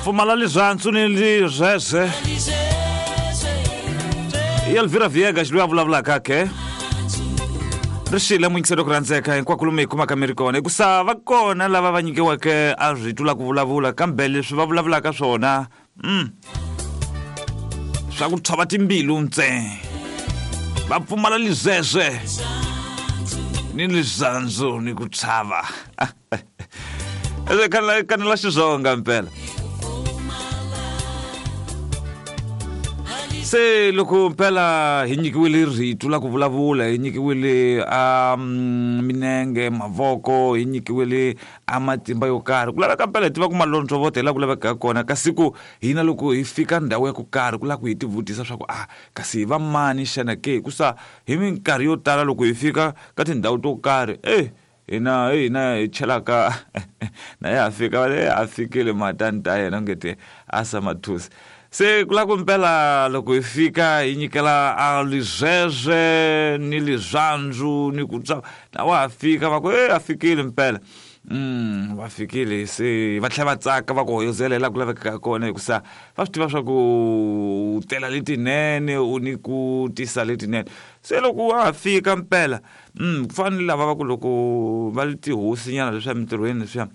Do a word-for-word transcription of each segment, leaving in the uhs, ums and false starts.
Pfumala lizantsu ni lizweze i Elvira Viegas loyi a vulavulaka ke ri xile muyingiselo ku rhandzeka hinkwako lomu hi kumaka mi ri kona hikusa va kona lava va nyikiweke a rito la ku vulavula kambe leswi va vulavulaka swona mm, swa ku tshova timbilu ntsena va pfumala lizwezwe ni lizandzu ni ku tshava kanela xizonga mpela se loko mpela hi nyikiwile rito la ku vulavula hi nyikiwile a minenge mavoko hi nyikiwile a matimba yo karhi ku laveka mpela hi tiva ku malondzovota hi laha ku lavekaka kona kasi ku hina loko hi fika ndhawu ya ku karhi ku lava ku hi tivutisa swa ku a kasi hi va mani xana ke hikusa hi minkarhi yo tala loko hi fika ka tindhawu to karhi e hina hina hi chelaka na ya fika va a fikile matani ta yena ngete a sa mathusi se ku lava ku mpela loko hi fika hi nyikela a lizwezwe ni lizwandzu ni ku tsa na wa ha fika va ku e a fikile mpela mm va fikile se va tlhela va tsaka va ku hoyozela hi laha ku lavekaka kona hikusa va swi tiva swa ku u tela letinene u ni ku tisa letinene se loko wa ha fika mpela mm ku fana ni lava va ku loko va ri tihosinyana leswiya emitirhweni leswiya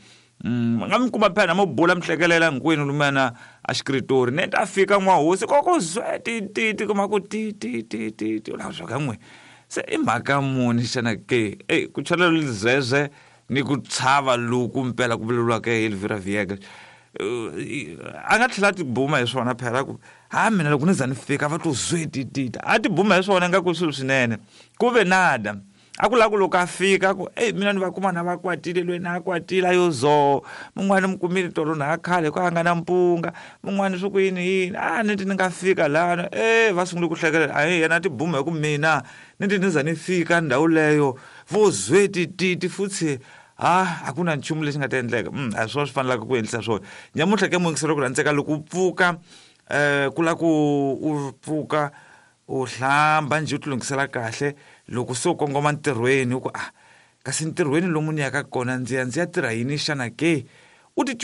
Mm, nga mi kuma phela mo bula mi hlekelela hinkwenu lumana a xikritori ne ta fika n'wahosi koko zwe ti ti ti kuma ku ti ti ti ti ti la swa ka n'we se i mhaka muni xana ke ey ku chalela lizwezwe ni ku tshava loku mpela ku vulavuriwaka hi Elvira Viegas a nga tlhela a tibuma hi swona phela ku ha mina loko ni za ni fika va to zwe ti ti a tibuma hi swona nga ku swilo swinene ku ve nada a ku lava ku loko a fika ku eyi mina ni va kuma na va kwatile loyi na a kwatile a yo zo mun'wani mi kumile tolo na a khale ku a nga na mpunga mun'wani swi ku yini yini a ni ti ni nga fika lana e va sungule ku hlekelela a yena a tibuma hi ku mina ni ti ni za ni fika ndhawu leyo vo zwe tititi futhi ha a ku na nchumu lexi nga ta endleka mm, a hi swona swi fanelaka ku endlisa swona nyamuntlha ke muyingiselo ku rhandzeka loko u pfuka um ku lava ku u pfuka u hlamba njhe u ti lunghisela kahle loko se u kongoma ntirhweni u ku a kasi ntirhweni lomu ni yaka kona ndzi ya ndzi ya tirha yini xana ke u ti